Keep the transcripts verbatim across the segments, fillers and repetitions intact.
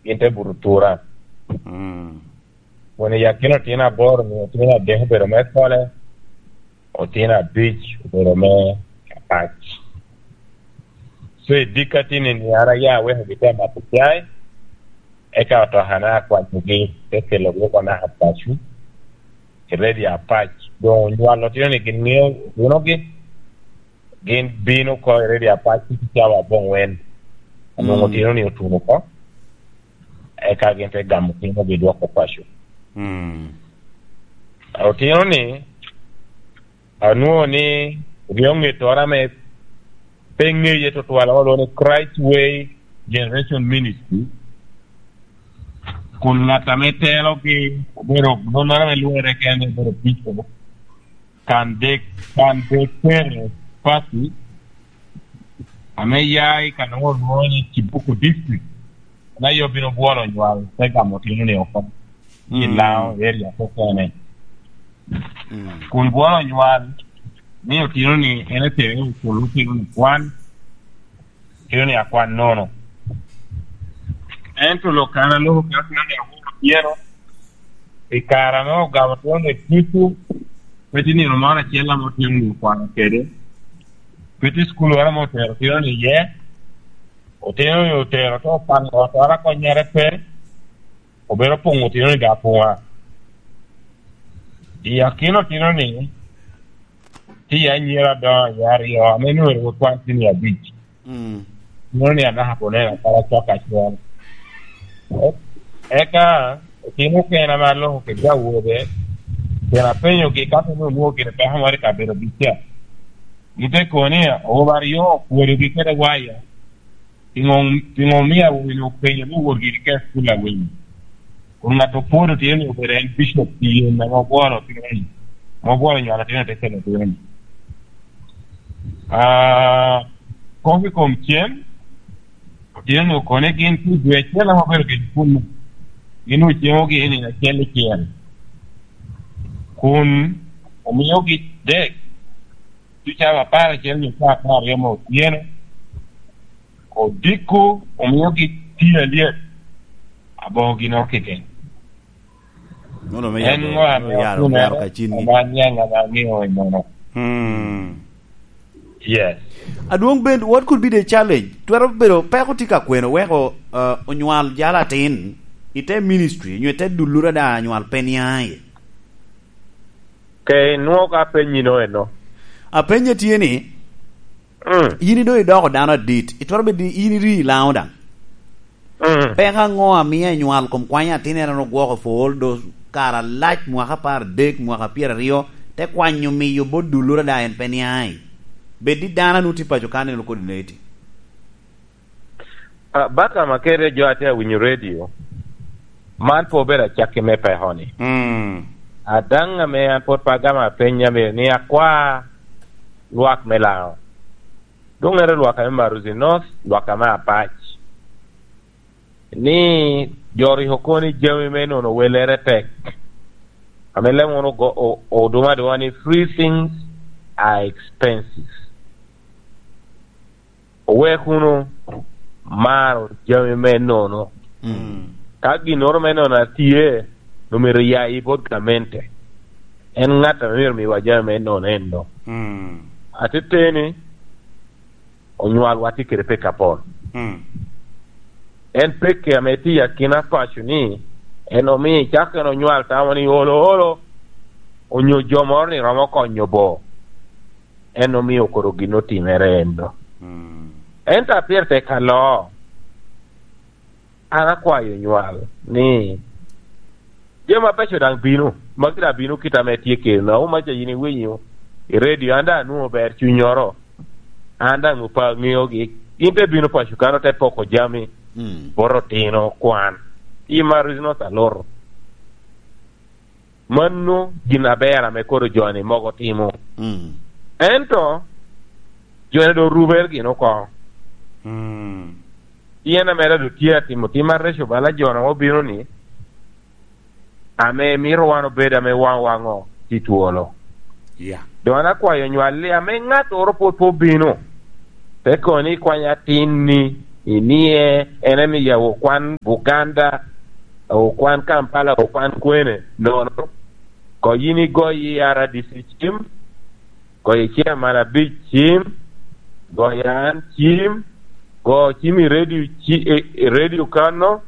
gin te buto tura. Mm. Kun i akina otino aboro-ni, otino adek obedo me Kole, otino abic obedo me Apac. So, i dikka tini-ni, an aya awekogi te mato cai, eka otokana akwanyogi, te kelogi oko naka paco, i redio Apac. Doŋ onywalo otino-ni gin ŋeo otunogi, gin bino oko i redio Apac i cawa aboŋwen. Onwoŋo Mm. otino-ni otuno oko, eka gin te gamo otinogi dwoko paco. Mm. Otino-ni, anwoŋo ni ryo ŋettoro ame pe ŋeye tutwal, olwoŋo ni Christ Way Generation Ministry, kun ŋat ame telogi obedo nonnoro ame lwere kene, obedo Bishop Kandek, Kandekere Pati, ame ya i ka nwoŋo olwoŋo ni Kibuku District. En aye obino bwolo onywal, te gamo otino-ni oko i Mm. Lango area kekene. Mm. Kun bwolo onywal, ni otino-ni en etere okul otino-ni kwan, otino-ni akwan nono. Ento lok kan aloko ka otino-ni aworo pyero, i kare ame ogamo otino-ni ducu, pe tye nino moro acel ame otino-ni okwano kede, pe tye cukul moro ame otero otino-ni iye, otino-ni otero te opano ot, ot a konnyere pe, obedo poŋo otino-ni daŋ apoŋa. I akina otino-ni, tye iye anyira adoŋo iye aryo, ame nwoŋo rik otwaŋ tye nino abic. Mm. Nwoŋo ni anaka oneno kara cok acel. E-, eka otino okene ame aloko kede awobe, pien apenyogi ka pe onwoŋo gire peko moro i kabedo abic ca. Gin te kono ni awobe aryo opwodogi kede waya. Piŋo, piŋo omio awobe-ni openyo ni owot giri ka i cukul awiny? Kun ŋat opwodo otino-ni obedo en bicop pi yen ame obwolo otino-ni, ame obwolo nywalo otino te kelo otino-ni. Ah, kop i kom cem, otino-ni okone gin pi dwe acel ame obedo kede kun gin ocemo gin i nino acel i cel. Kun omiogi dek, ducu apar acel nyo apar aryo me otyeno, odiko omiogi tye alyet, aboŋo gin okike. Nono me En yalo, ŋo ame me yalo, otuno yalo ka cin. Ame aniaŋ ame aŋeo i nono? Hmm. Yes. Adwoŋ Ben, what could be the challenge? Twero bedo peko tye ka kweno weko, uh, onywal jalo atin i te ministry, nyo i te dullura da anywal pe niaŋ aye? Ke inwoŋo ka apenyi no eno. Apenye tye ni, Mm. Yin idoŋ idoko dano adit, itwero bedo ni in iri i Laŋo daŋ. Mm. Peko aŋo amio anywal kom kwany atin en ogwoko for all those kare alac, mwaka apar adek, mwaka pyeraryo, te kwanyo miyo bot dullura da en pe niaŋ i? Bed ni dano a nwoŋo tye paco kan en kodi neti. Ah, baka ma kede jo a tye awinyo redio, man pe obedo acakki me peko-ni. Mm. A daŋ ame an pwod pe agamo apeny, amito ni akwa lwak me Laŋo. Doŋ ento lwak ame Maruzi North, lwak ame Apac, ni jo rik okobo ni jami me nono welere tek. Ame leb wunu ogo-, o-, oduma aduŋa ni, "Free things are expensive." Owek wunu maro jami me nono. Mm. Ka ginnoro me nono a tye, omyero ya i bot gamente. En ŋat ame myero miwa jami me nono eno. Mm. Ateteni, onywalwa tye kede pekki apol. Mm. En pekki ame tye i akina paco-ni, en omio icako en onywal tamo ni olo, olo, onyo jo moro ni romo konyo bo. En omio koro gin otimere eno. Mm. Ento a pire tek aloo, an akwayo onywal ni jami abeco daŋ bino, magi daŋ bino kit ame tye kede-nu. Auma ca yin iwinyo i redio, an daŋ anwoŋo ber cunnyoro, an daŋ opa ŋeogi. Gin te bino paco kan, ote poko jami, Mm. bot otino kwan. I Maruzi North aluto. Mano gin aber ame koro jo-ni mogo timo. Mm. Ento jo-ni doŋ orubere gin oko. Mm. Pien ame doŋ tye atimo tim areco bala jo-nu obino-ni, ame mito wan obed ame waŋwa ŋo tye twolo. Yeah. Doŋ an akwayo onywalli, ame ŋattoro pwod pe obino, te kono ni ikwany atin-ni, Inie en emiya okwan Buganda, okwan Kampala, okwan kwene, nono. Ko yin igoyi R D C cim, goyo chairman abic cim, goyo an cim, go cim i radio ci-, i, i radio kano,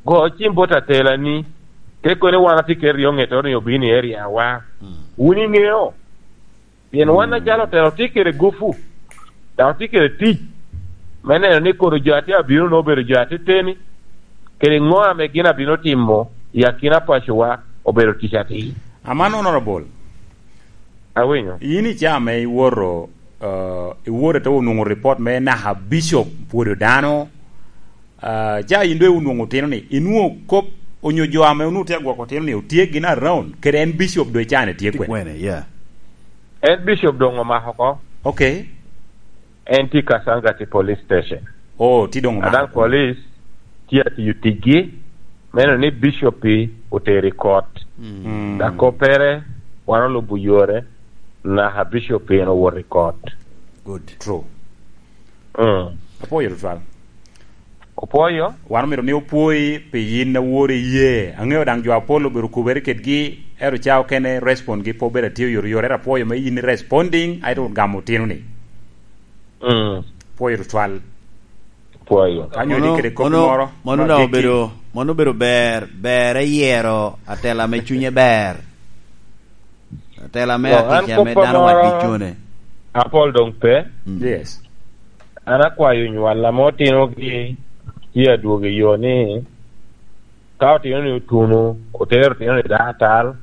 go cim bot atelani. Te koni wan atye kede ryo ŋetoro ni obino i area wa. Mm. Wun iŋeo? Pien wan, mm, acalo otelo tye kede gupu, dok tye kede tic me neno ni kono jo a tye abino-nu obedo jo ateteni, kede ŋo ame gin abino timo i akina pacowa obedo tic atir. Aman, Honorable. Awinyo. Yin i caa ame iwoto, eh, iwoto ite onwoŋo report me naka Bishop pwodo dano, ah, ca yin doŋ onwoŋo otino ni, inwoŋo kop onyo jo ame onwoŋo tye agwoko otino ni otye gin around, kede en Bishop doŋ i caa-ni tye kwene? Kwene, yeah. En Bishop doŋ omako oko. Okay. En tye Kasangati Police Station. Oh, tye doŋ omako oko. Adaŋ police tye atiyo ticgi, me neno ni Bishop-pi otero i kot. Mm. Dok koppere, wan olubo yore, naka Bishop-pi en owoto i kot. Good. True. Mm. Apwoyo tutwal. Opwoyo? Wan omito ni opwoyi pi yin awor iye. Aŋeo daŋ jo apol obedo okubere kedgi, ento ca okene respond-gi pe obedo atye oyotoyot, ento apwoyo me yin responding, aeto gamo otino-ni. Mm. Pwoyo tutwal. Pwoyo. Ka nyo ni kede kop moro, mano ma daŋ gik obedo, mano obedo ber, ber eyero atela ame cunye ber. Atela me, no, an atic ame koppa dano moro wadicone. Apol doŋ pe. Mm. Yes. An akwayo onywal ame otinogi tye adwogo i yo ni, ka otino ni otuno, otero otino ni dakatal,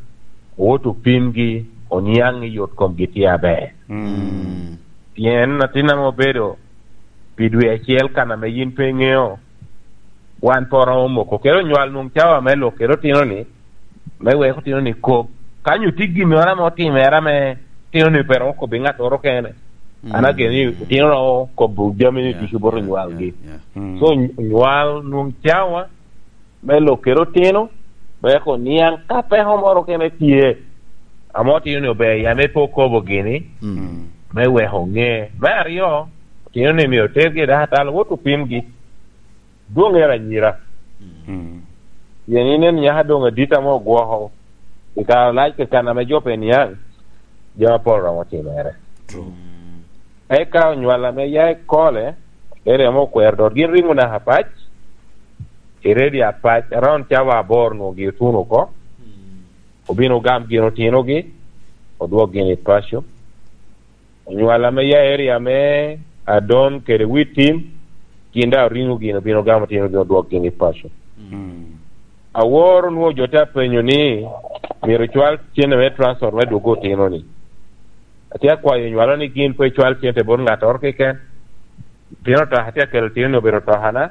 owot opimgi, oniaŋ ni yot komgi tye aber. Mm. Pien atin ame obedo pi dwe acel kan ame yin pe iŋeo, wan pe oromo moko. Kede onywal nwoŋ cawa me lok kede otino-ni, me wek otino-ni kob. Ka nyo tye gin moro ame otimere ame otino-ni pe romo kobbi ŋattoro kene, mm, an ageno ni otino romo kobo jami-ni ducu bot onywalgi. Yeah, yeah, yeah. Mm. So, onywal nwoŋ cawa me lok kede otino, wek oniaŋ ka peko moro kene tye, ame otino-ni ober ya me pe okobo gini, mm, me wek oŋe. Me aryo, otino-ni myero otergi i dakatal, owot opimgi. Dwoŋ ero anyira. Mm. Pien inen nyaka doŋ adit ame ogwoko i kare lac keken ame jo pe niaŋ, jami apol romo timere. True. Eka onywal ame ya i Kole, ere ame okwero dot, gin riŋo naka Apac, i redio Apac, around cawa aboro nwoŋo gin otuno oko. Mm. Obin ogam gin otinogi, odwok gin i paco. Onywal ame ya area me Adon kede Witim, gin daŋ oriŋo gin, obin ogamo otinogi, odwok gin i paco. Mm. Aworo nwoŋo jo te apenyo ni, myero cwal cente me transport me dwogo otino-ni. Atye akwayo onywalo ni gin pe cwal cente bot ŋattoro keken. Pien otoka atye akelo otino-ni obedo otokana.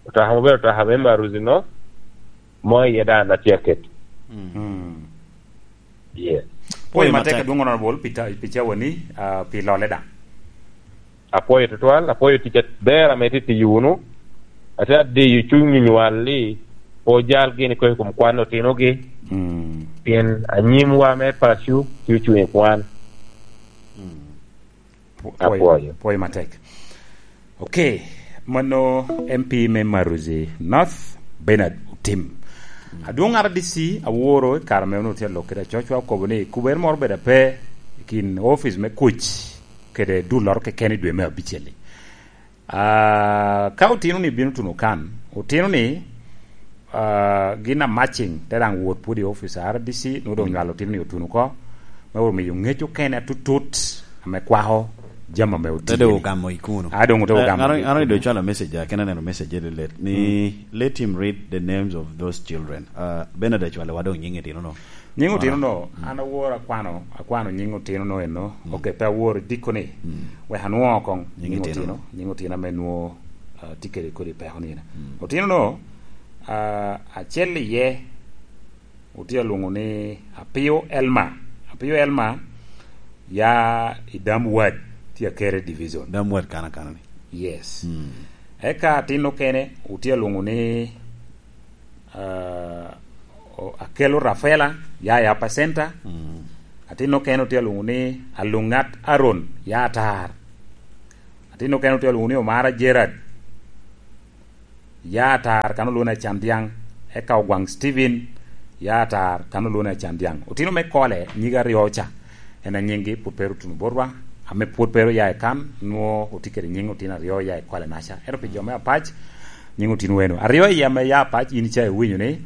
Otoka ma obedo otoka me Maruzi-no, mo iye daŋ an atye aketo. Mm. Mm. Yes. Pwoyo matek, matek, adwoŋ Honorable, pi ta-, pi cawani, ah, pi lole daŋ. Apwoyo tutwal, apwoyo tic aber ame itye tiyo wunu. Ate adiyo cuny onywal ni, pe ojal gin iko i kom kwan otinogi. Mm. Pien anyimwa me paco tye ocuŋ i kwan. Mm. Pwo-, apwoyo, apwoyo. Pwoyo matek. Ok, mano M P me Maruzi North, Bernard Otim. Adwoŋ R D C Aworo i kare ame onwoŋo tye alok kede acocwa okobo ni kubere moro obedo ape i kin opic me kuc kede dulloro keken i dwe me abicel-li. Ah, ka otino-ni bino tuno kan, otino-ni, ah, gin a matching te daŋ wot pwod i opic a R D C, nwoŋo doŋ nywalo otino-ni otuno oko, me wot miyo ŋec okene atutut ame kwako jami ame otio. Te doŋ ogamo i kuno. Ah, doŋ te, eh, ogamo an, i an kuno. Doŋ cwalo message, ah, kena neno message lelet ni, mm, let him read the names of those children. Ah, Bernard acwalo wa doŋ nyiŋ itino-no. Nyiŋ otino-no, mm, an awor akwano, akwano nyiŋ otino-no eno. Mm. Ok, pe awor dikko ni. Mm. Wek anwoŋo koŋ nyiŋ otino, nyiŋ otino ame nwoŋo, ah, tye kede kodi peko nino. Mm. Otino-no, ah, acel iye, otye alwoŋo ni Apio Elma. Apio Elma ya i Dam Ward, tye Akere Division. Dam Ward kana kana ni. Yes. Mm. Eka atin okene, otye alwoŋo ni ah, o-, Akelo Rafaela, ya i Upper Center. Mm. Atin okene otye alwoŋo ni Aluŋat Aaron, ya Atar. Atin okene otye alwoŋo ni Omara Gerard, Ya atar kan olwone Acan Dyaŋ, eka Ogwaŋ Steven, ya atar kan olwone Acan Dyaŋ. Otino me Kole, nyige aryo ca, en a nyiŋgi pwod pe ru tuno botwa, ame pwod pe ru ya i kan, nwoŋo otye kede nyiŋ otino aryo ya i Kole-naca. Ento pi jo me Apac, nyiŋ otino eno. Aryo i ame ya Apac, in ca iwinyo ni,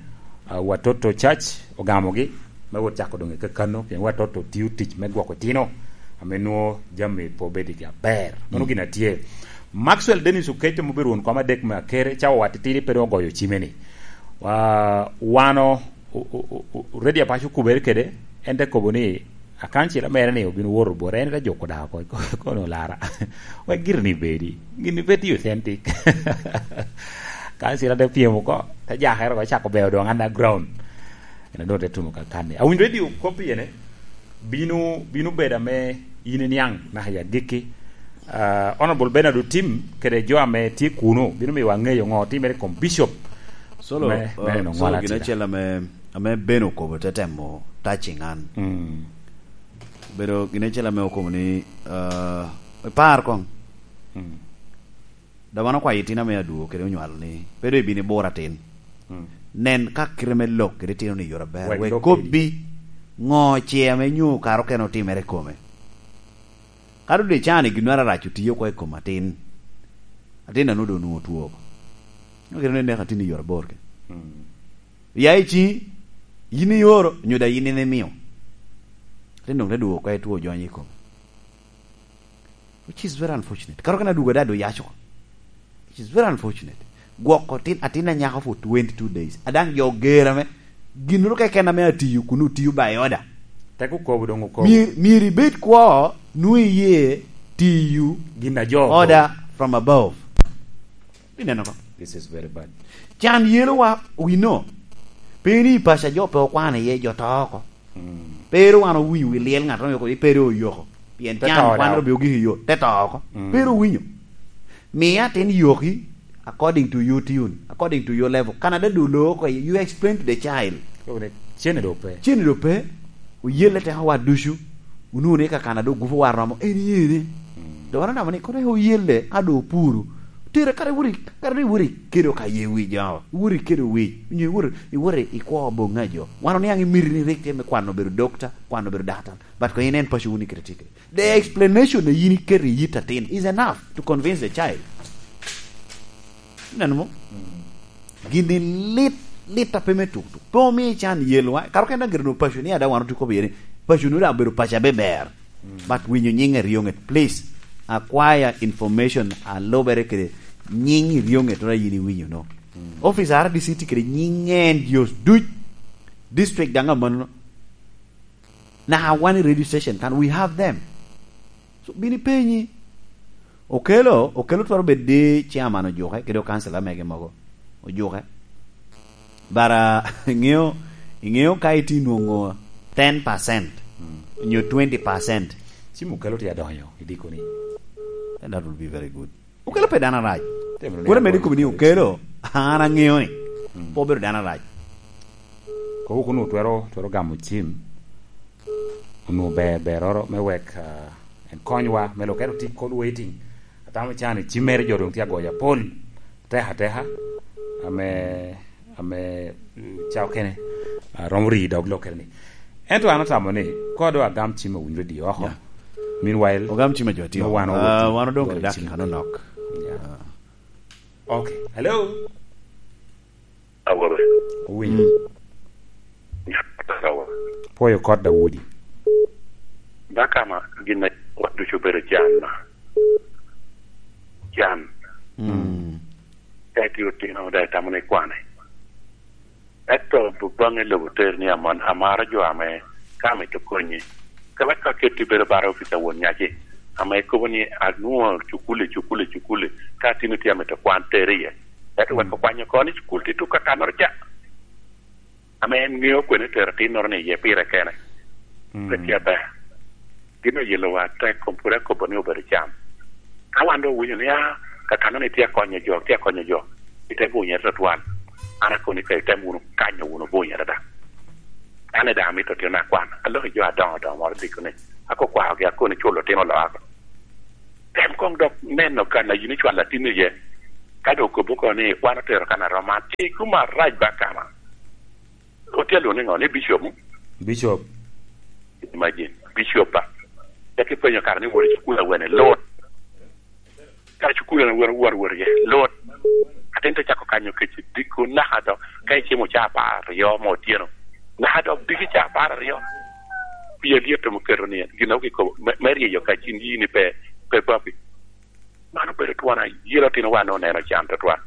ah, Watoto Church ogamogi, me wot cako doŋ i kakano, pien Watoto tio tic me gwoko itino, ame nwoŋo jami pe obedigi aber. Mano gin atye. Maxwell Dennis Okeco, ma obedo won kom adek me Akere, cawa wa titidi pe doŋ ogoyo cime ni, wa-, wan o-, o-, o-, o-, o-, Redio Apac okubere kede, en te kobo ni, akancila mere ni obino woto bot, en te juko daa oko, kono lara. Wek giri ni bedi, gini pe tye authentic. Kancila te pyem oko, te jakere oko, cako beo doŋ underground. En a doŋ te tuno ka kanni. Awinyo redio kop iye ni, bino, bino bedo ame in iniaŋ naka i agikki. Ah, Honorable Bernard Otim kede jo ame tye kuno bino miyowa ŋeyo ŋo otimere i kom Bishop Solo, me, me uh, neno solo ŋola gin tida. Acel ame, ame Ben okobo te temo touching an. Mm. Bedo gin acel ame okobo ni, uh, ipar koŋ. Mm. Da wan okwayo itino ame adwogo kede onywalo ni, pe doŋ ibino ibur atin. Mm. Nen ka kite me lok kede itino ni yot aber. Wek wek lok kobbi ŋo ce ame nyo kara okene otimere i kome. Ka doŋ dicani ginnoro arac otiyo oko i kom atin, atin nanu doŋ onwoŋo two oko. Nyo kite ni nek atin i yot abor ke. Mm. Ya i ciŋi, yin ioro, nyo daŋ yin in imio. Atin doŋ te dwogo oko i two ojonyo i kome. Which is very unfortunate. Kara okene adwogo ada doŋ yac oko. Which is very unfortunate. Gwoko tin, atin anyaka for twenty-two days. Adaŋ jo gera me, ginnoro keken ame atiyo, kun otiyo by order. Tek okobo doŋ okobo. Myero, myero ibed kwo, nwoŋo iye tiyo gin a jo okobo. Order from above. Ineno ko? This is very bad. Can yelowa, we know. Pe ni i paco a jo pe okwano iye, jo to oko. Mm. Pe ru wan owinyo wi lyel ŋat ame oko, pe ru oyoko. Pien can wan ru bi ogik i yo, te to oko. Mm. Pe ru owinyo. Miya atin yoki according to your tune, according to your level. Canada do lo oko, you explain to the child. Koko ni, cene do pe. Cene do pe. Oyelle teko wa ducu. Onwoŋo ni ka Canada ogupo wa romo, en yene. Mm. Do wan onamo ni, kono oyelle, a do opuru. Tere kare wuri, kare wuri kedo ka ye wi jo. Wuri kedo wi. Nyo wuri, wuri i kwo boŋ a jo. Wan oniaŋ i miti ni rik tye me kwano obedo dokta, kwano obedo daktar. But ko in en paco wuni kite tye kede. The explanation a yin iketo i yit atin is enough to convince the child. Ineno mo? Mm. Gini lit, lit a pe me tuk tuk. Pe omi can yelwa. Karo ken daŋ gire no paco ni ada wan otuko bie ni. Paco no daŋ obedo paco abe ber. Mm. But winyo nying Erioŋet, please. Acquire information a lubere kede nying Erioŋet ora yin iwinyo no. Mm. Office R D C tye kede nying en just duc. District daŋ amanno. Naka wan i radio station kan, we have them. So, bini penyi. Okelo, Okelo twero bedo di chairman ojuke, kede okansila mege mogo. Ojuke. Bara, iŋeo, iŋeo ka iti nwoŋo ten percent, mm, nyo twenty percent. Cim Okelo tye adonyo i dikoni. And that will be very good. Okelo pe dano arac. Temo ni Kura mede agoyo kobi ni kare Okelo, an aŋeo ni, mm, pe obedo dano arac. Kobo kun otwero, twero gamo cim. Onwoŋo ber, beroro me wek, ah, en konywa me lok. Ento tye call waiting. Atamo can i cimmere jo doŋ tye agoyo apol. Ateka ateka. Ame, ame, mm, ca okene, ah, romo ri dog lokere ni. Ento an atamo ni, ko doŋ agam cim awinyo redio oko. Yeah. Meanwhile, ogam cim a jo tye no wan oko. Ah, wan odong kede dakika nonok. Yeah. Ah. Okay. Hello? Awobe. Owinyo. Mm. Awobe. Pwoyo kot Daudi. Dakama gin a wat ducu obedo can ma. Can. Mm. Ka itye otino, daŋ itamo ni ikwane. Ento baŋe lobo ter ni amon-, amaro jo ame ka amito konyi. Ka wek ka ketti bedo bara opic a won nyaci, ame ikobo ni anwoŋo cukuli, cukuli, cukuli, ka atino tye amito kwan ter iye. Ento wek, mm, okwanyo oko ni cukul tye tuk kakannoro ca. Ame en ŋeo kwene tero atinnoro ni iye pire kene. Mm. Pe tye aber. Gin oyelowa atek, kom pwod akobo ni obedo can. Ka wan doŋ owinyo ni, "Ah, kakano ni tye akonyo jo, tye akonyo jo," ite bunyere tutwal. An akoni ka item wunu kanyo wunu bunyere daŋ. An daŋ amito tino akwan. Aloko i jo adoŋo doŋo moro diko ni, akokwaogi, akoni culo timo loka. Tem koŋ dok neno kan a yin icwalo atin iye. Ka doŋ okobo oko ni, "Wan otero kan arom man." Tic kuma arac ba kama. Otye alwongo ni ŋo? Ni bicop? Bicop. Imagine, bicop ba. Tek ipenyo kara ni wot i cukul awene, lut. Kara cukul awene, wot, wot, wot iye, lut. Atin te cako kanyo kec i dikko naka do, ka icimo caa apar aryo me otyeno. Naka dok diki caa apar aryo. Pi alyet omo keto ni, gin a okikobo, me, me ryeyo ka cin yini pe, pe babi. Man obedo twon ayelo otinowa ame oneno can tutwal.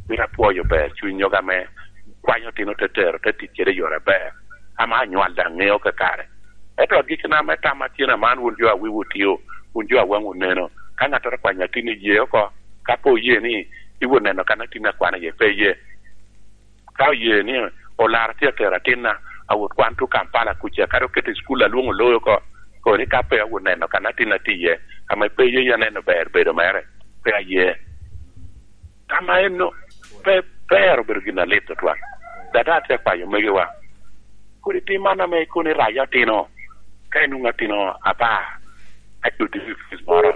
Mito apwoyo ber cuny oga ame kwanyo otino te tero te tic kede i yore aber, ame anywal daŋ ŋeo kakare. Ento agikina me tamma tye ni aman wun jo a wiwu tio, wun jo a waŋwu neno. Ka ŋattoro kwanyo atin i ye oko, ka pe oye ni iwo neno kan atin akwano iye, pe iye. Ka oye ni olaro tye atero atinna, awot kwan tuŋ Kampala kuca, kadi oketo i cukul alwoŋo oloyo oko, kono ni ka pe awot neno kan atinna tye iye, ame pe ye aneno ber bedo mere, pe aye. Tam a enno pe, pe ero obedo gin alit tutwal. Dada atye akwayo omegiwa, kodi tim man ame ikono irayo otino, ka inwoŋo atino apar, ka cuti i ofis moro,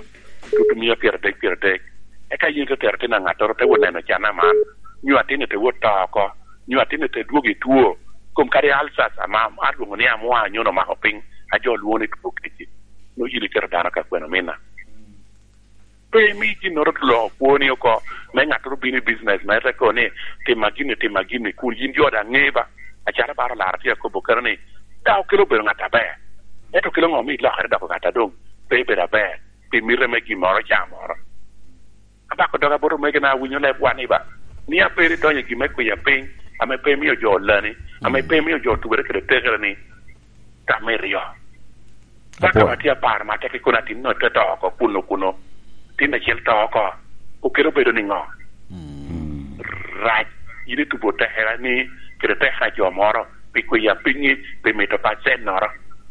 tutu mia pyeradek, pyeradek, eka yin ite tero atin a ŋattoro, te wot neno can aman, nyo atin-ni te wot to oko, nyo atin-ni te dwogo i two, kom kadi ulcers ama alwoŋo ni amwa nyono omako piny, a jo lwoŋo ni two kec-ci, nwoŋo yin iketo dano ka kwene ominna. Pe imi ginnoro loo kwoni oko, me ŋattoro bino i business mere te kono ni, "Tima gini, tima gini," kun yin jo daŋ ŋe ba, acalo baro lara tye akobo kene ni, daŋ okelo obedo ŋat aber. Ento kelo ŋo mi ilokere doko ŋat a doŋ pe ibedo aber pi mite me gin moro ca moro? Abako doga bot omegina, awinyo lebwa ni ba, ni abedo idonyo i gin me kwiya piny, ame pe imio jo olani, ame pe imio jo otubere kede tekere ni, tam iryo. Ka Apwoyo. Kama tye apar ma tek ikono atin no te to oko kuno kuno. Tin acel to oko. Okelo bedo ni ŋo? Mm. Rac. Yin itubo tekera ni kede tekera jo moro pi kwiya pinyi pi mito pacennoro.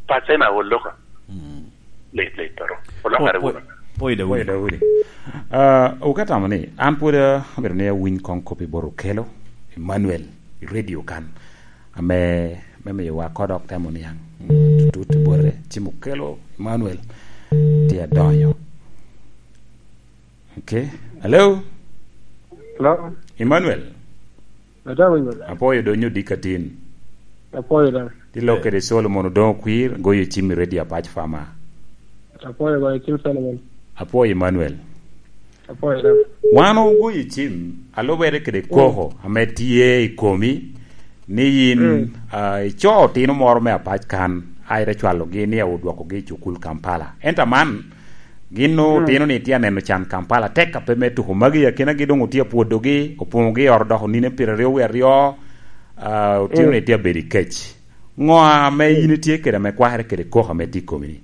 Pacen aol loko. Mm. Lit, lit, toro. Olokere wunu. Pwoyo Daudi. Pwoyo Daudi. Ah, oka tamo ni, an pwod, ah, abedo ni awiny kong kop i bot okelo, Emmanuel, i radio kan. Ame, me miyowa kodok temo niaŋ. Mm, tutut i bote, cimo kelo Emmanuel tye adonyo. Okay. Hello? Hello? Emmanuel? Atamo ni. Apwoyo do nyo dika tin. Apwoyo da. Ti lok kede Solomon Odongo Kwir, goyo cim i Radio Apac Fama. Apwoyo goyo cim Solomon. Apwoyo Emmanuel. Apwoyo da. Wan ogoyo cim, alubere kede koko ame tye i komi, ni yin, mm, ah, ico otino moro me apac kan, a ite cwalogi ni odwokogi i cukul Kampala. Ento aman, gin otino ni tye aneno can Kampala, tek ape me tuko magi, akinagi doŋ otye apwodogi, opoŋogi i ot odoko nino pyeraryo wie aryo, ah, otino ni tye abedo i kec. Ŋo ame in itye kede ame kwakere kede koko ame tye i komi-ni?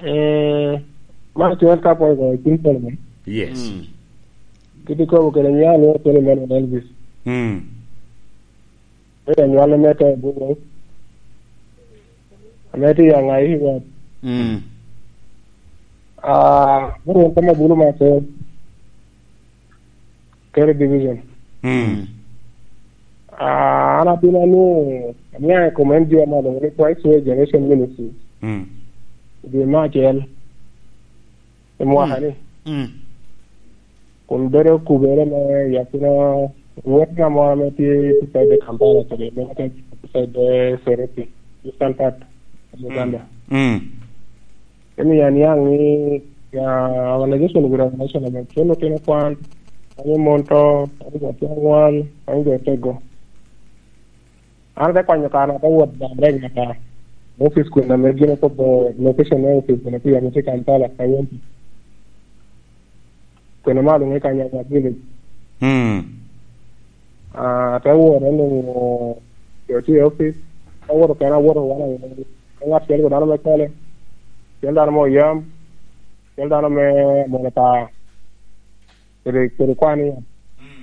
Eh, man tye ka pwony kong i cim Solomon. Yes. Mm. Kit ikobo kede nyo alwongo Solomon Elvis. Mm. Bedo anywale me to i Bugo. Ame tye i Aŋai, Hiwot. Mm. Ah, Bugo kama bulu matin. Kere Division. Mm. Ah, an abino ni, aniaŋ i kom N G O ame alwongo ni Christ Way Generation Ministry. Mm. I dwe me acel, i mwaka ni. Mm. Kun bedo kubere me yakina wot na moro ame tye i side de Kampala, kede me side de Soroti, Eastern part of Uganda. Mm. Emi aniaŋ ni, ah, organization with organization ame kelo otino kwan, kwanyo mon to, kwanyo jo tye aŋwal, kwanyo jo tego. An ate kwanyo kare, ate wot direct nyaka office kun ame gin okobo location me office kun ame tye Kampala, Kawempe. Kun ame alwonge Kanyanya Village. Mm. Ah, ate wot, anwoŋo jo tye i office. Ate wot kena, awoto wan aye. Ka ŋat acel dano me Kole, acel dano me Oyam, acel dano me Mono Paa, kede, kede kwan iye. Mm.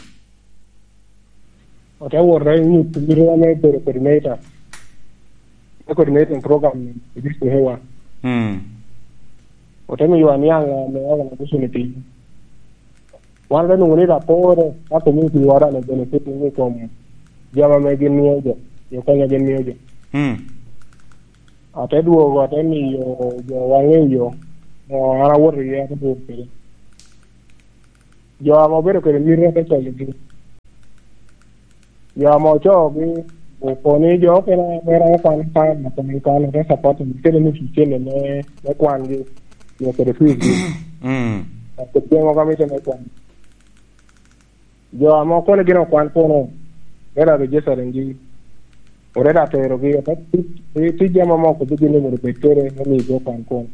Ote wot i nyut mito ame bedo coordinator, me coordinating program i district hewa. Mm. Ote miyo aniaŋ ame organization i piny. Wan te nwoŋo ni rapore ka community woro ame benefiting i kom jami ame gin mio jo, jo konyo gin mio jo. Mm. Ate dwogo, ate miyo jo waŋe yo, o, an awoto iye, ate dwogo kede. Jo ame obedo kede miti te konyogi. Jo ame ocoogi, opo ni jo okene mere okwan kan, okwan kan, ote support, kede ni cicene me, me kwangi, nyo kede fees gi. Mm. Kede jami mogo a mitte me kwan. Jo ame okone gin okwan kono, me rado Jerusalem gi, oreda terogi, tic, tic, tic jami ame okobbi gin ni myero bed kede, me miyogi okwan kono.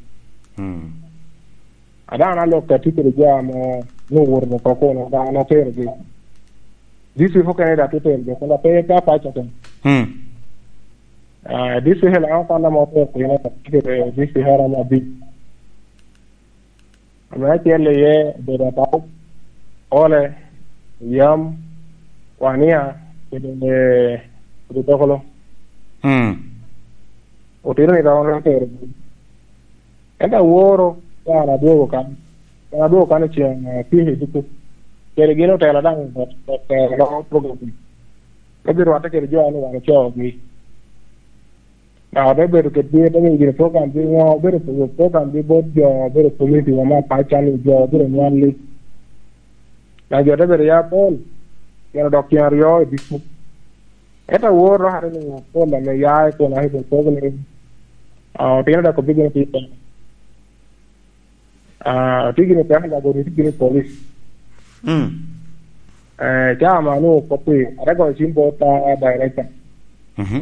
Mm. A dano alok ka tye kede jo ame nwoŋo owoto oko kono, dano oterogi. District okene daŋ te terogi, kono pe, pe apac oko. Hmm. Ah, district Lango kwan ame oter piny, tye kede district a romo abic. Ame acel iye obedo Atau, Ole, Yam, Wania, kede, kede Dokolo. Hmm. Otino ni dano oterogi. Ento aworo, ka an adwogo kan, an adwogo kan i ceng, eh, tye i duku. Kede gin otelo daŋ, dok, dok, eh, loko program. Ka birwatte kede jo a ni wan ocoogi. Dok ote bedo kedgi, ote miyo gire program gi ŋo, obedo program gi bot jo, obedo community wa me apac kan, jo obedo nywalli. Dok jo te bedo ya apol, pien odok ceng aryo i duku. Ento awor dok ate nwoŋo pol ame ya i kun ake kun kobo ni, ah, otino dok obigino tye i peko. Ah, otye gini i peko, dok otye gini i polis. Mm. Eh, ca ame onwoŋo kop-pi, ate goyo cim bot, ah, director. Mhm.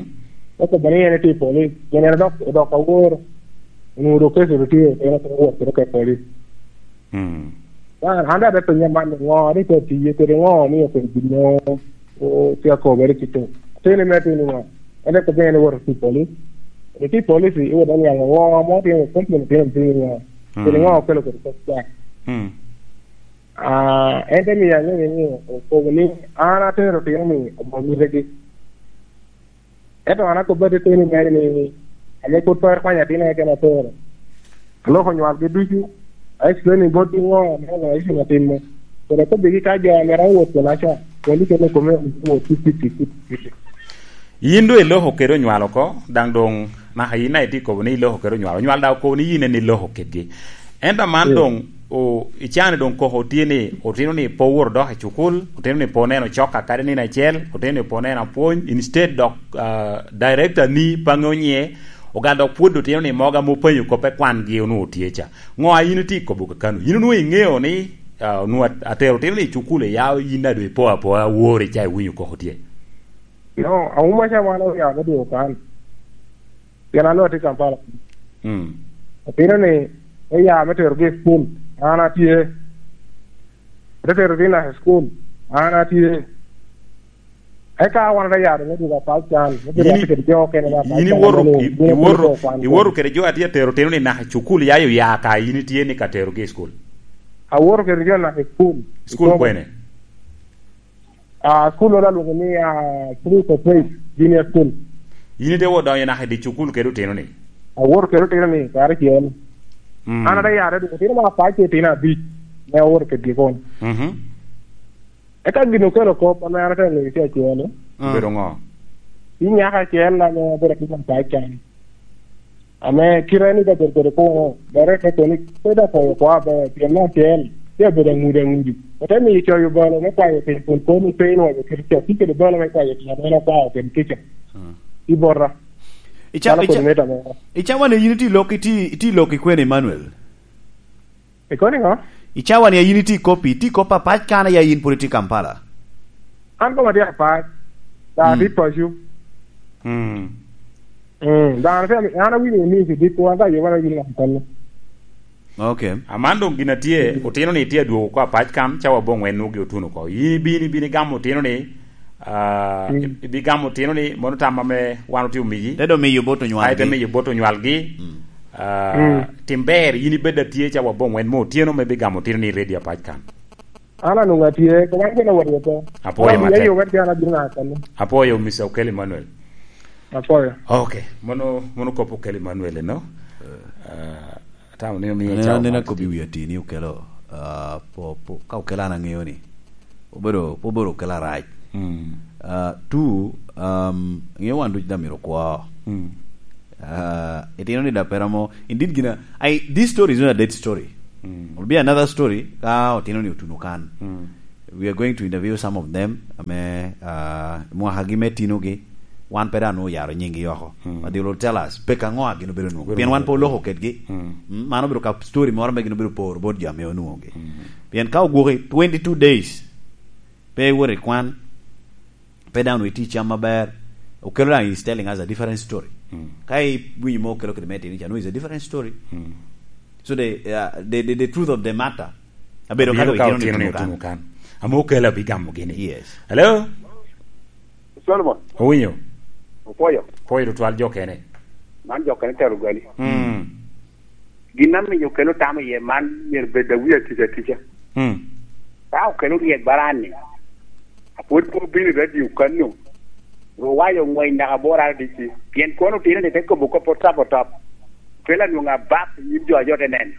Okobo ni en etye i polis, pien en odok, odok awor, onwoŋo dok keco dok tye, en otye wot kede ka i polis. Mm. An, an daŋ ate penye man, ŋo rik pe tiye kede ŋo omio kede gin mo o-, tye akobere kite. Ateni me ateni ŋo? En rik obino en iwoto ki i polis. Rik i polis iwot oniaŋ ŋo mo tye, komplain tye, tye ŋo? Kede ŋo okelo kede kop ca? Mm. Ah, en te miyo aŋeyo ni, okobo ni, an atero otino ni obo mitegi. Ento an akobbi ateni mere ni, ame pwod pe akwanyo atina keken atero. Aloko nywalgi ducu, a explain ni botgi ŋo ame organization atimo. Kede akobbigi ka jo ame rawot kena ca, koni kene kome wot ki fifty fifty. Yin doŋ iloko kede onywal oko, daŋ doŋ naka yin daŋ itye kobo ni iloko kede onywal. Onywal daŋ okobo ni yin en iloko kedgi. Ento aman, mm, doŋ o-, icaa ni doŋ koko tye ni otino ni pe owoto dok i cukul, otino ni pe oneno cok akadi nino acel, otino ni pe oneno apwony, instead dok, ah, director ni pe aŋeo nyiŋe, ogal dok pwod otino ni mogo ame openyo kop e kwan gi onwoŋo tye ca. Ŋo a yin itye kobo kakano? Yin onwoŋo iŋeo ni, ah, onwoŋo at-, atero otino ni i cukul iya, yin daŋ doŋ ipo apoa, awori ca iwinyo koko tye. No, auma ca wan oya me dwogo kan. Pien an atye Kampala. Mm. Otino ni, me ya me terogi i cukul, an atye. Ote tero otino i cukul, an atye. Eka wan ote yaro me dwogo apac can, me bedo yin i-, kede jo okene me apac yin can, iwoto, ame i-, gin iwoto, okwano iwoto kede jo a tye atero otino ni naka i cukul ya oya ka yin itye ni ka terogi i cukul? Awoto kede jo naka i cukul. Cukul kwene? Ah, school oro alwongo ni, ah, Three Corporate Junior School. Yin ite wot donyo naka i di cukul kede otino ni? Awoto kede otino ni, karacel. Mm. An ate yare dwogo otino ma apac ki otino abic, me awoto kedgi kun. Mhm. Eka gin okelo kop ame an ate ngeyo tye acel. Mm. Obedo ŋo? Ci nyako acel ame obedo atin apac kan. Ame kite ni dabedo kede kono, dok rik te kono ni, pe dok kwayo kwa aber, pien me acel, tye abedo aŋudi aŋudi. Ote miyo coyo balo me kwayo piny kun kono pe inwaco kite ca, tye kede balo me kwayo piny ame en okwao kede kica. Hmm. I bota. Ica-, calo ica-, kodi meta mo. Icawa ni yin iti lok, iti, iti lok i kwene, Emmanuel? Ikono niŋo? Icawa ni yin iti kop, iti kop apac kan ya yin pwod iti Kampala? An koma tye apac, daŋ atye paco. Mm. Mm, daŋ an, an awinyo ni kidiko, an ka ayoba na gin ŋat kene. Ok. Aman doŋ gin a tye, otino ni tye adwogo oko apac kan, cawa aboŋwen nwogi otuno oko. Yin ibino, ibino igamo otino ni, ah, mm, ib-, ibigamo otino ni, mono tam ame wan otye omiyi. Te doŋ miyo bot onywalgi. Ai, te miyo bot onywalgi. Mm. Ah, mm, tim ber, yin ibed atye cawa aboŋwen mo otyeno me bigamo otino ni i redio apac kan. An anwoŋo atye, koma an gin awot woko. Apwoyo matek. An aye wet jan abino ŋa kano. Apwoyo, Mister Okello Emmanuel. Apwoyo. Ok, mono, mono kop Okello Emmanuel eno. Eh. Ah, atamo ni omiye. Aneno, cawa aneno mot. Kop i wi atini Okello, ah, po, po, ka Okello an aŋeyo ni, obedo, obedo Okello arac. Mm. Ah, two, um, ŋeo wan ducu daŋ myero okwo. Mm. Ah, itino ni daŋ pe romo, indeed gina, I, this story is not a dead story. Mm. Will be another story ka otino ni otuno kan. Mm. We are going to interview some of them, ame, ah, mwakagi me tinogi, wan pe dano oyaro nyinggi oko. Mm. But they will tell us, pek aŋo a gin obedo nwoŋo. Obedo pien wan pe nwoŋo. Oloko kedgi. Mm. Mm, mano obedo ka story moro me gin obedo poro bot jo ame onwoŋogi. Mm. Pien ka ogwoki twenty-two days, pe iwoto i kwan, pe dano itye i cam aber, okelo daŋ is telling us a different story. Mm. Ka iwinyo mo okelo kede me tini ca, no, is a different story. Mm. So the, uh, the, the, the truth of the matter, abedo ka otino ni otuno kan. Ame okelo abigamo gini. Yes. Hello? Solomon. Owinyo? Opwoyo. Pwoyo tutwal jo kene. Man jo kene tero gali. Mm. Gin amiyo okelo tamo iye man myero bed awi atica atica. Mm. Ka okelo ryek baran-ni, apwod pe obino i radio kanno, ru wayo ngwec naka bor R D C, pien kono otino ni te kobo kop otop otop, kelo anwoŋo abak i nyim jo a jo te neno.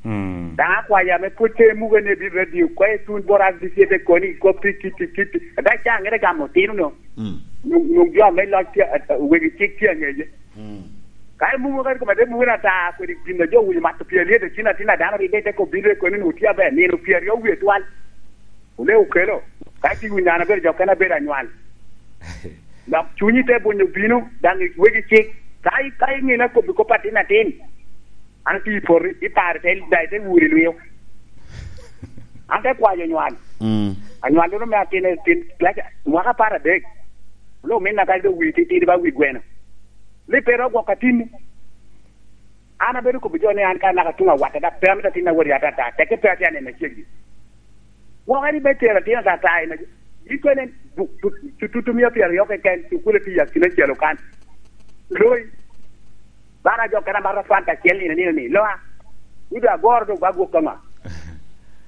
Mm. Daŋ akwayo ame pwod pe muke ni ebino i radio, kwayo tun bor R D C te koni i kop pi kiti kiti. Ada ca ŋete gamo otino no. Mm. Nwoŋ, nwoŋ jo ame loc tye, a, a, wegi cik tye aŋeye. Mm. Ka imumo kadi kome te mumo ata kodi gin a jo owinyo mato pii alyet, a cin atin a dano ridde te kobbi te koni ni otye aber, nino pii aryo wie twal. Ole okelo. Ka itye winyo an abedo jo kene abedo anywal. Dok cunyi te bunyo bino, daŋ i wegi cik. Ka i-, ka iŋina kobbi kop atin atin, an atye i poti, iparo te, daŋ ite wuro i lwio. An te kwayo nywal. Mm. Anywallono me atin, atin, lac-, mwaka apar adek. Ole ominna kadi dok wi titidi ba wi gweno. Ni pe ro gwok atinni. An abedo kobo jo ni an ka naka tuŋ awatte, dok pe amito atin awot i atata, teke pe atye aneno ceggi. Gwok eri me tero atin atata, ina, ikene du-, du-, tututu mia pyeraryo keken, cukule pi akina acel okan. Loi, bana jo kena mata fanta acel nino nino ni, loa, ido agoro doŋ ba gwok kama.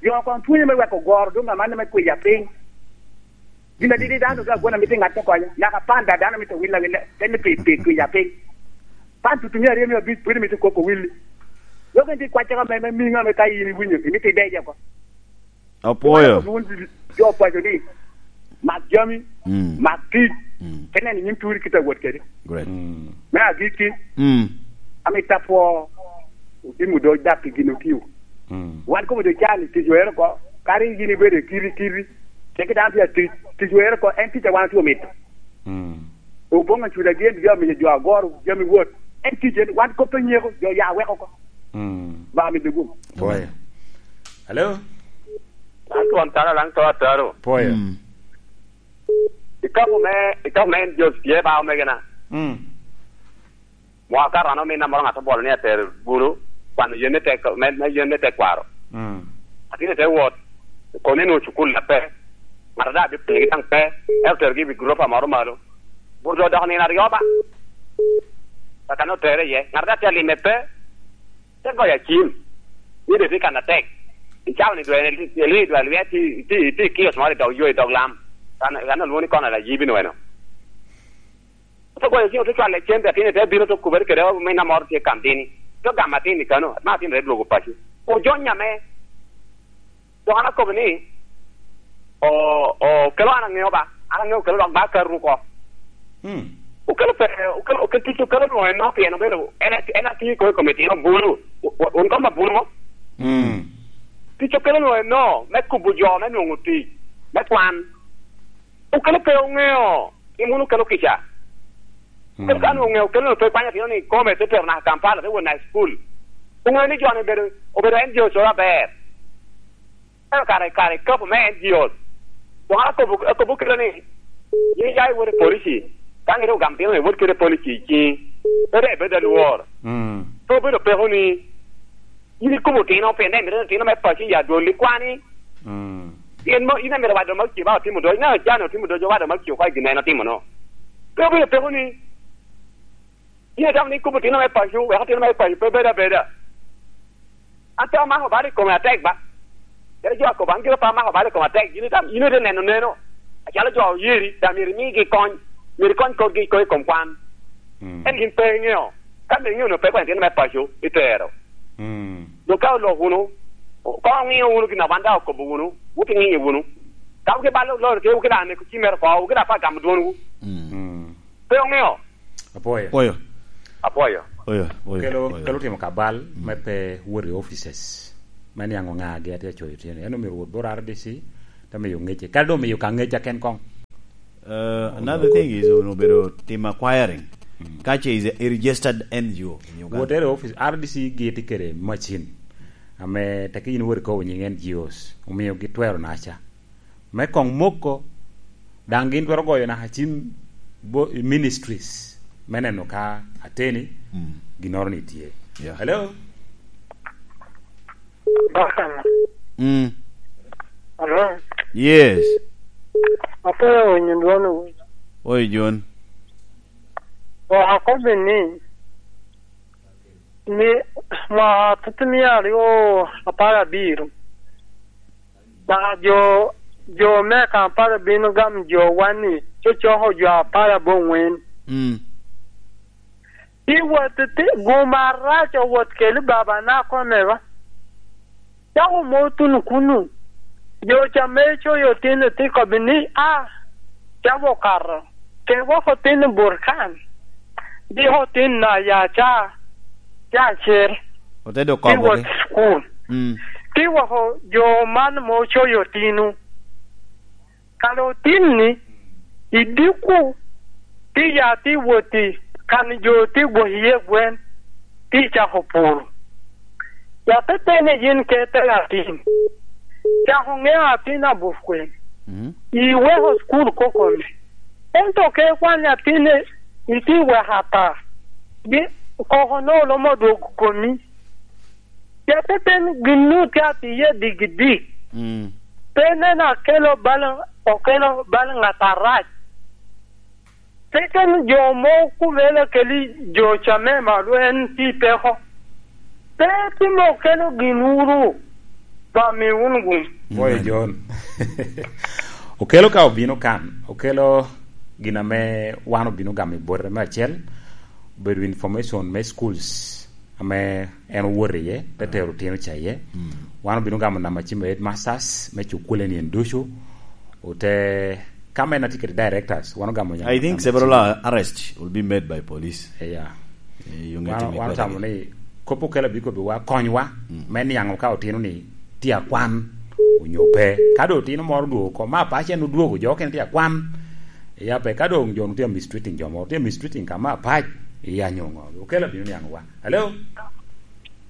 Jo kon pwonyo me weko goro doŋ amanne me kwiya piny. Gin adidi dano ka gwon amito ŋat te konyo, naka panda dano mito willa willa, en ni pi, pi kwiya piny. Pan tutumia aryo mia abic pwod imito koko willi. Lok en ti kwacce ka me, me miŋo ame ka in iwinyo, imito ideje oko. Apwoyo. Wun jo paco ni, mak jami, mm, mak tic, mm, te neno nyin turi kite awot kede. Great. Mm. Me agikki, mm, amito apwo, otimo doc dak i gin otio. Mm. Wan kobo jo cani, tic oero oko, kadi yin ibedo i kiri kiri, ceke dano tye atic, tic oero oko, en tic a wan otye omito. Mm. Oboŋo acuda gin bino amiyo jo agoro, jami wot. En tic en, wan kop pe nyeko, jo ya weko oko. Mm. Ba mi dugum. Pwoyo. Hello? An twon tara lang to ataro. Pwoyo. Mm. Ikapo me, ikapo me en Jos tye ba omegena. Mm. Mwaka rano min amoro ŋat obolo ni ater bulu, kwano yen me tek, me, me yen me tekwaro. Mm. Atin te wot, kono ni nwoŋo cukul na pe, ŋat a daŋ bipigi daŋ pe, ento terogi i wi guropa moro malo. Burdo odoko nino aryo ba. Kaka ne otere iye, ŋat a daŋ tye alime pe, te goyo acim. Ni dwe tye kan atek. Icao ni dwe, ni dwe lwia tye, tye, tye i kiosk moro i dog yo, i dog lam. Kan, kan olwoŋo ni kona la yibi nweno. Ote goyo ciŋ, ote cwalo cente, atin te bino, te kubere kede ominna moro tye Kandini. Te gamo atin i kano, ma atin te dwogo paco. Ojonya me. Dok an akobo ni, o, o, kelo an aŋeo ba, an aŋeo kelo dok ba akato oko. Hmm. Okelo pe, okelo, okelo tic, okelo nwoŋo eno, pien obedo, en, en atiŋo i kome, i kome tino bulu. O, o, wun koma bulu mo? Hmm. Tic okelo nwoŋo eno, me kubo jo, me nwoŋo tic, me kwan. Okelo pe oŋeo, gin wun okelo kica. Okelo ka nwoŋo oŋeo, okelo nwoŋo pe kwanyo atino ni kome, te tero naka Kampala, te wot naka i cukul. Oŋeo ni jo-ni obedo, obedo N G Os oro aber. Ento kare, kare ikapo me N G Os. Dok an akobo, akobo kede ni, yin ya iwot i polici, ka ŋete ogamo tino ni iwot kede polici i ciŋi, pe dok ibedo alwor. Mm. Pe obedo peko ni, in ikobo tino, pien dok imito ni tino me paco ya dwol ikwani. Mm. In mo, in amito wado ma oci ba otimo doc, na jana otimo doc, wado ma oci oko i gin en otimo no. Pe obedo peko ni, in itamo ni ikobo tino me paco, weko tino me paco pe bed abeda. An pe amako bal i kome atek ba. Kadi jo akobo, an gire pe amako bal i kome atek, in itamo, in ite neno neno. Acalo jo oyeri, daŋ myero imigi kony, myero ikony korgi i kom kwan. Mm. En gin pe iŋeo. Ka be iŋeo no pe kwany tino me paco, itero. Mm. Dok ka olok wunu, ka oŋiyo wunu gin a wan daŋ okobo wunu, wot iŋiyo wunu. Ka wuki bal oloro tye, wuki daŋ neko cimere oko, wuki daŋ pe agamo dwonwu. Mm. Mm. Pe oŋeo. Apwoyo. Apwoyo. Apwoyo. Oyo, oyo, kelo, oyo. Kelo timo kabal, mm, me pe wot i offices. Me niaŋ oŋa agi atye acoyo tyen. En omyero wot bot R D C, te miyo ŋecce. Kadi doŋ miyo ka ŋecca ken koŋ. Uh, another thing is, onwoŋo bedo tim acquiring. Mm. Ka ce is a registered N G O in Uganda. Wotere office, R D C giti kede macin. Ame teke yin wori kowo nying N G Os. Omio gitwero naca. Me koŋ moko, daŋ gin twero goyo naka cim bo-, i ministries. Me neno ka ateni, mm, ginnoro ni tye. Yeah. Hello? Bakama. Mm. Hello? Yes. Apoyo winyo dwon owinyo. Oi, John. O akobi ni, ni mwaka tutumia aryo apar abiro, na jo, jo me Kampala bino gamo jo wan ni, cocoko jo apar aboŋwen. Mm. Ti wot ti, gum arac owot keli baba na kome ba. Cako mo tuno kunu. Jo ca me coyo tin ti kobi ni, "A, cako okato. Ke wok otin Burkan. Di otin na ya ca, ca cer." Ote dok kobogi. Ti wot school. Mm. Ti woko jo man mo coyo tinu. Kara otin-ni, i dikku, ti ya ti wot i kan jo ti gwok iye gwen, ti cako pur. Ya te pene yin ke te atin. Cako ŋeo atin abuf kwen. Mm. Iweko school kokone. Ento ke kwan atin-ni, iti weko ata. Gi, koko no lomo dwog komi. Cete pen gin-nu tye atiye digidik. Mm. Pe nen akelo bal, okelo bal ŋat arac. Pe ken jo mo kumela keli jo camema lwen pi peko. Pe timo okelo gin wuru, ba mi wun gum. Boy John. Okelo ka obino kan, okelo gin ame wan obino gamo i bote me acel, obedo information me schools. Ame en owoto iye, te tero otino ca iye. Mm. Wan obino gamo namba cim headmasters me cukule ni en ducu. Ote, ka men atye kede directors, wan ogamo namba cim. I think several ar-, arrests will be made by police. Yeah. Eh, yung wan, wan otamo ni, kop okelo abikobi wa, konywa, mm, me niaŋ ka otino ni tye akwan, onyo pe. Ka doŋ otino moro odwogo oko, ma pac en odwogo, jo okene tye akwan. Iya pe, ka doŋ jo tye mistreating jo moro, tye mistreating ka ma pac, iya nyo ŋo. Okelo abino niaŋ wa. Hello?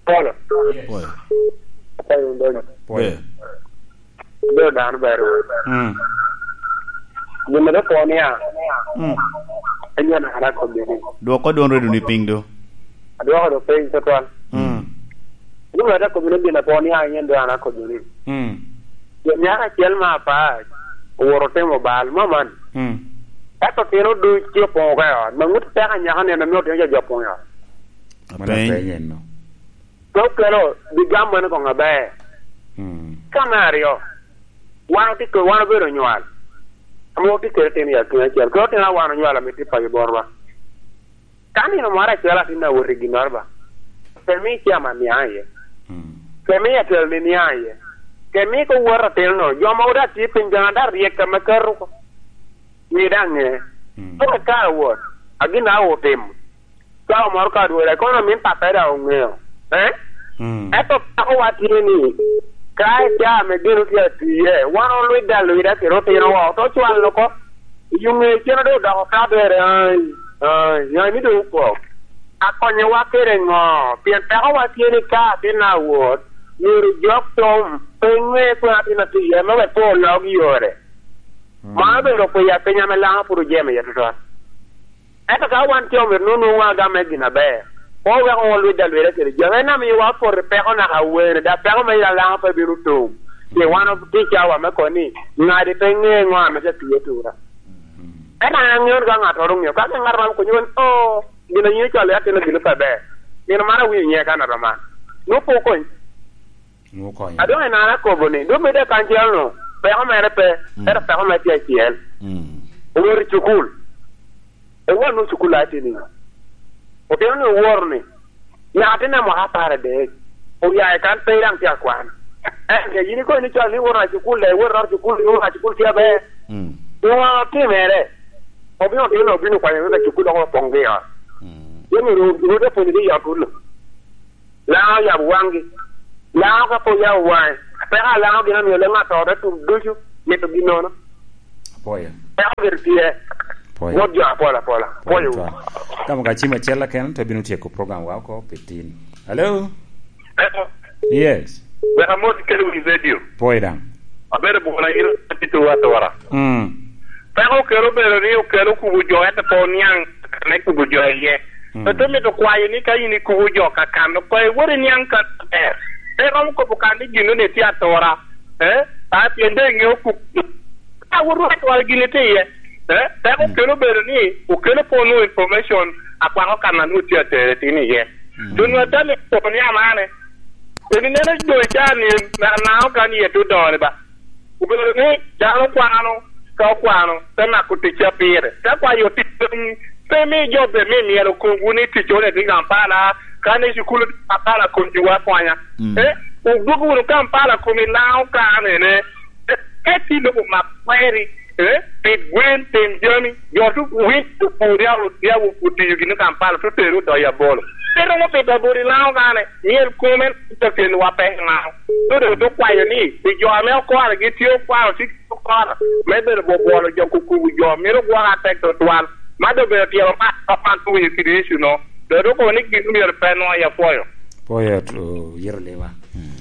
Polo. Yes. Polo. Polo, Ndonyo. Polo. Ber. Ber dano ber. Mm. Gin mere po nia. Mm. Enyo na ara ko bini. Dwoko dwon redo ni piny do. Adwoko do piny tutwal. Mm. Gin mere ko bini gin po nia, enyo do ara ko bini. Mm. Jo nyaka acel ma apac, oworo timo bal, ma man. Mm. Ento tino duc tye opoŋo ka i ot, ma ŋut peko anyaka nino, mio tino jo, jo opoŋo i ot. Mano apeny. Apeny enno. Pe okelo, bi gam mene koŋ aber. Mm. Ka me aryo, wan otye ke-, wan obedo onywal. Ame otye kede tino i akina acel. Kede tino a wan onywalo ame tye paco botwa. Ka nino moro acel atin awot i ginnoro ba, pe mi chairman niaŋ iye. Mm. Pe mi atelo ni niaŋ iye. Pe mi ko wot atino no. Jo mogo daŋ tye piny, jo daŋ ryek ame keto oko. Wi daŋ ŋe. Mm. Pok eka awot. A gin a otimo. Cawa moro ka dwora, kono min pape daŋ oŋeo. Eh? Mm. Ento peko wa tye ni, ka i caa me geno tye atye, wan olwidde alwida kede otino wa, oto cwal oko. I yo ŋe cen doŋ odoko ka bere, ai, ai, ai, ni doŋ opok. Akonyowa kede ŋo? Pien peko wa tye ni ka atin awot, myero jok tom, pe ŋe kwena atin atye iye, me wek pe olok yore. Mm. Mano obedo kwiya piny ame Laŋo pwod ojemo iye tutwal. Ento ka wan co myero nwoŋo nwoŋo agam me gin aber, pe oweko won lwidde alweda kede jami. En amiyowa poto i peko naka awene, dok peko me Laŋo pe bino tum. Pien wan otye i cawa me kono ni, ŋadi pe ŋe ŋo ame tye tiye tura. Ento an aŋeo ni ka ŋattoro oŋeo, ka gin ŋat romo konyo wun, "Oh, gin a yin ocwalo i atin-ni bino pe ber." Nino mano awinyo nyiŋe ka nat man. Nwoŋo pe okony. Nwoŋo konyo. A doŋ en an akobo ni, doŋ medde kan cel-nu, peko mere pe, mm, ento peko mere tye acel. Mm. Owot i cukul. Owot nwoŋo cukul a tye niŋo? Otino ni oworo ni, naka tin a mwaka apar adek, oya i kan pe daŋ tye akwan. Ento yin ikobo ni cal ni iworo a cukul, daŋ iworo a cukul, iworo a cukul tye aber. Mm. Nwoŋo otimere. Obino otino, obino kwanyo wek a cukul dok opoŋgi i ot. Mm. Yen myero rwot opwonyogi i ot kuno. Laŋo oyabo waŋgi. Laŋo ka pe oya waŋe, peko a Laŋo gin omio leŋ atore tuk ducu mito ginnono. Apoyo. Peko gire tye. Apoyo. Wot jo apol apola. Apoyo. Apoyo. Ka moko acim acel keken, to bino tyeko program wa oko pi tin. Hello? Hello? Yes. Wek amot kede wi radio. Apoyo daŋ. Abedo bwona ino atito atora. Mm. Peko okelo bedo ni okelo kubo jo, ento pe oniaŋ me kubo jo iye. Mm. Pe te mito kwayo ni ka in ikubo jo ka kan, okoŋ iwot iniaŋ kan aber. Pe iromo kobo kan ni gin ni tye atora. Eh? A pien dong iŋeo kubo. Ka wot wot atora gin itye iye. Eh? Peko Mm. okelo bedo ni okelo pe onwoŋo information akwako kan a nwoŋo tye atere tin iye. Mm. Doŋ nwoŋo atamo i kobo ni amane. Eni neno doŋ i caa ni, na, na okan iye te odone ba. Obedo ni dano kwano, ka okwano, te mako ticca pire. Te kwayo tic, pe mi jo be mi myero okobwu ni ticca onwoŋo tye i Kampala, kan i cukul tye i Kampala, konywu akonya. Mm. Eh, odwog wunu Kampala kom i Laŋo kan ene. Eh, ka itye i lobo mak kweri, eh, pid gwen, tim jami, jo tu winy opur, ya, ya otiyo gini Kampala, tu tero odoyo abolo. Pe romo pito abolo i Laŋo kan, myero kome te kelo wa pek i Laŋo. Tu doŋ tu kwayo ni, pi jo ame okwano, gitye okwano, tye okoro, me bedo bwobwolo jo kukubo jo, mito gwok atek tutwal. Ma doŋ obedo tyero mat, ma wan owinyo kede issue no. Doŋ dok okobo ni gin myero pe nwoŋo ya pwoyo. Pwoyo, to, yero lewa. Mm.